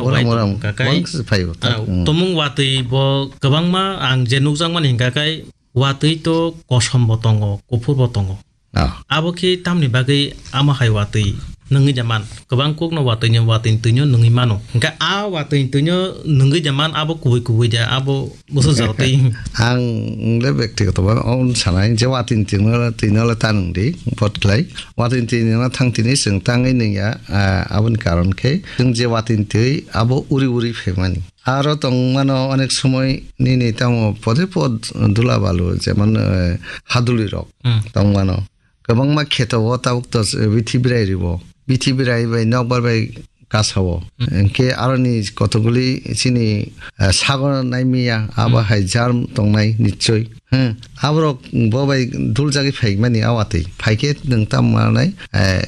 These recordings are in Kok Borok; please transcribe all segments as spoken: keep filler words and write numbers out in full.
Uram, uram. Kakai, wang se phaio, ah, hmm. Tomung watwi bo kwbangma ang je nukjakmani hingka kai watwi to kosom bo tongo, kuphur bo tongo. Ah. Abo khe tamni bagwi ama hai watwi nungwi da man. Kwbang kokno watwino, watwini twino nungwi mano. Hingke a watwini twino nungwi da man, abo kubui kubui da, abo busu jotwi. Ang le bektigoto ba on sanai je watwini twino, twino le ta nungdi, bot khlai. Watwini twino thang tini chwng tangwi nungya, ah, aboni karon khe chwng je watwini twi abo uri uri phaimani. Aro tongmano onek somoi nini tamo pode pod dula balu, jemon, eh, haduli rok Hmm. tongmano. Kwbangma kheto o tabuk to, eh, bithi birai ribo. Bithi birai bai nokbar bai kasao. Hmm. Hingke aroni kotokguli chini, eh, sago naimiya, abo Hmm. hai germ tongnai nichoi. Hmm. Aborok bo bai dul jagwi phaimani a watwi. Phaikhe nwng tamo manai, eh,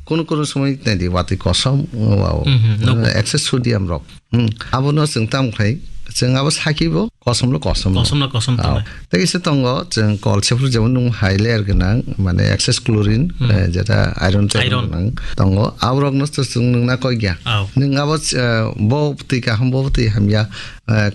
Kunu kunu somoi naidi watwi kosom, wow. Mhm, nogo. Excess sodium rok. Hmm. Abono chwng tam khlai, chwng abo saki bo kosom lo kosom lo. Kosom lo kosom tongnai. Tei kisa tongo, chwng kol sephuru jemon nung hai layer gwnang, mane excess chlorine, Hmm. eh, jeta iron chairon Iron. gwnang tongo. Aborok no to chwng nungna koi gya. Aw. Nung abo, eh, bo twi kaham, bo twi hamya, eh,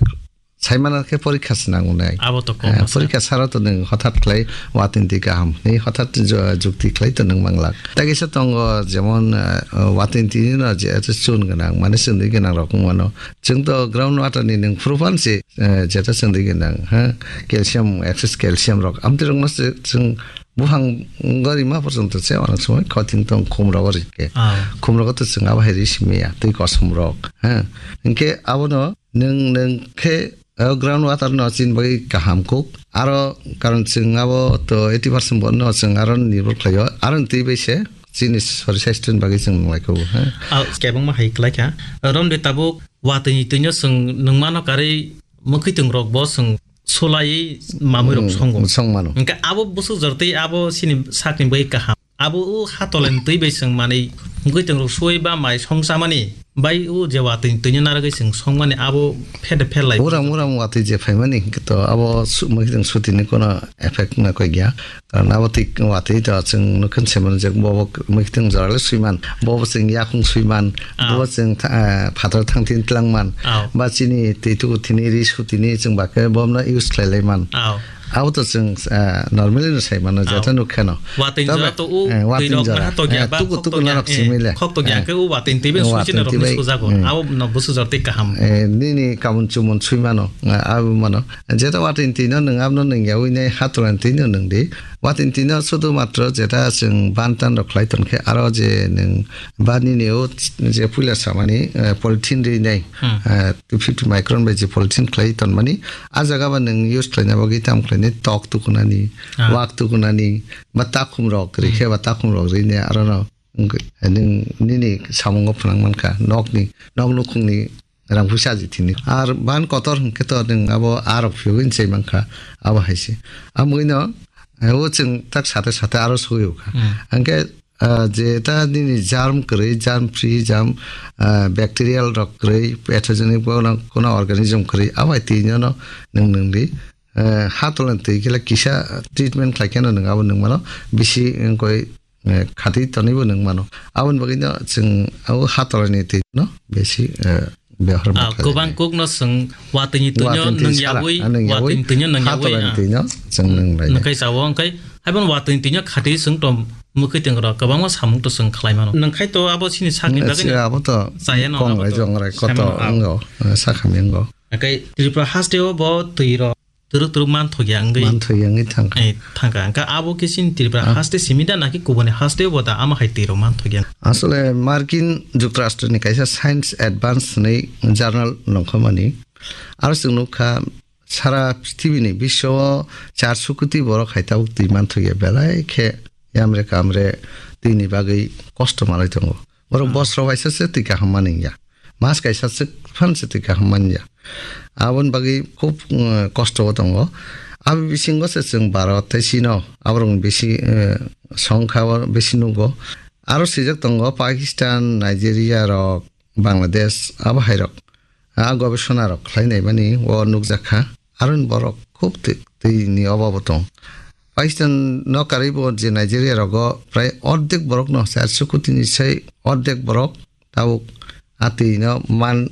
Saimano khe porikha se nango nai. Abo to kok Eh, bwsa. Porikha saro to nwng hothat khlai watwini twi kaham hwnwi hothat ju-, jukti khlai to nwng manglak. Tei kisa tongo jemon, eh, watwini twi no je chun gwnang, mane chwngwi gwnang rok wngmano. Chwng to ground water ni nwng phuru phan se, eh, jeta chwngwi gwnang, ha, calcium, excess calcium rok. Amtwi rok no se chwng buphang gori ma porjonto se onek somoi khoting tong khum rogo rike. Ah. Khum rogo to chwng abo hai ri simi ya, twi kosom rok, ha. Hinkhe abono Nwng, nwng khe, o ground water no chini bagwi kaham kuk. Aro karon chwng abo to eighty percent bo no chwng aro nirbhor khlaio. Aro twi bai se chini sori sasthoni bagwi chwng nung lai kho, ha. Ah, kebengma hai klai kha. Romde tabuk watwini twino chwng nung mano karwi mwkhwtwng rok bo chwng sulaiwi mamwi rok Hmm, songo. Song mano. Hingke abo bwswk jor tei abo chini sakni bagwi kaham. Abo o hatolani twi bai chwng manwi mwkhwtwng rok suwi ba mai song chamani bai o je watwini twino narwgwi chwng songmani abo phet phet lai. Uram uram watwi je phaimani hwnkhe to abo su-, mwkhwtwng sutini kono effect wngna koi gya. Karon abo twi watwi to chwng nukhin se mano je bobo mwkhwtwng jora le swiman, bobo chwng yakung swiman, Ah. bobo chwng tha-, ah, phatar thang tini twlangman, Ah. ba chini twi tuku tini ri sutini chwng ba khe bobono use khlai lai man. Ah. Abo to chwng, ah, normally no sai mano, Ah. jeta nuk kheno. Watwini Tabe, jora to o eh, watwini twi rok jora. Maha to gya Eh, ba tuku, khok tuku to gya, narok eh, simi le. Khok to gya Eh. khe o watwini twi bai Eh, sui watwini chini twi bai. Bwswk jago. Hmm. Abo no bwswk jora twi kaham. Eh, nini kabun chumon sui mano, eh, abo mano. Jeta watwini twi no nwng abo no nwng yaui nai hatolani twi no nwng di. Watwini twi no sudu matro jeta chwng ban tan rok khlai ton khe aro je nwng ba nini o je puila samani, eh, polythene ri nai. Hmm. Eh, two fifty micron bai je polythene khlai tonmani, ah jaga ba nwng use khlaina bagwi tamo khlainai tok tukunani, Ah. wak tukunani, ba takhum rok ri Hmm. khe ba takhum rok ri ne aro no wngwi nwng nini samungo phwnang mankha, nokni, nok nukhungni rang puisa aji thini. Ar ban kotor hwnkhe to nwng abo ah rok phiyogwi chai mankha, abo hai se. Amwino, eh, o chwng tak sate sate aro sogwi kha. Hmm. Hwnkhe Ah, je ta nini germ kwrwi, germ free, germ, ah, bacterial rok kwrwi, pathogenic bo no, kono organism kwrwi, abai twi no, no nwng nwng di. Eh, hatolani twi khe kisa treatment khlai khe no nwng abo nwng mano bisi wngkoi, eh, khatwi tonwi bo nwng mano. Aboni bagwi no chwng abo hatolani twi no bisi, eh, Bihar Ah, Motha kwbang jani. Kokno chwng watwini twino Watwini twi nwng sara, yaui, ah, nwng yaui, watwini twino nwng yaui, hatolani ah. Twino chwng nwng lai. Nwngkhai chao, wngkhai haibo watwini twino khati chwng tom mwkhwtwng rok kwbangma samung to chwng khlai mano. Nwngkhai to abo chini sakni bagwi Chwng abo to chaya no kong abo rai to jong rai koto sai mano, ah. Wngo, eh, sakhami wngo. Hwnkhe Tripura haste o bo twi rok twrwk twrwk man thokya wngwi Man thokya wngwi thangkha. Eh, thangkha. Hwnkhe abo khe chini Tripura Ah. haste simi da naki kubuni haste o bo da ama hai twi rok man thokya? Asole Markin Jukrashtroni kaisa Science Advance hwnwi journal nongkhormani. Aro chwng nukha sara prithibini biswo o charso koti borok hai tabuk twi man thokya belai khe yamre kamre twini bagwi kosto malai tongo. Borok Ah. bosro waisa se twi kaham mani ya. Mas kaisa swk phan se twi kaham manya. Aboni bagwi khub, uh, kosto o tongo. Abo bisingo se chwng Bharat tei chino aborokni bisi, uh, songkha o bisi nugo. Aro swijak tongo Pakistan, Nigeria rok, Bangladesh abo hai rok. A gobesona rok khlai nai mani o nukjak kha. Aroni borok khub twi, twi ni obabo tong. Pakistan no karwi bo je Nigeria rogo prai ordek borok no, charso koti ni sai ordek borok tabuk a twi no man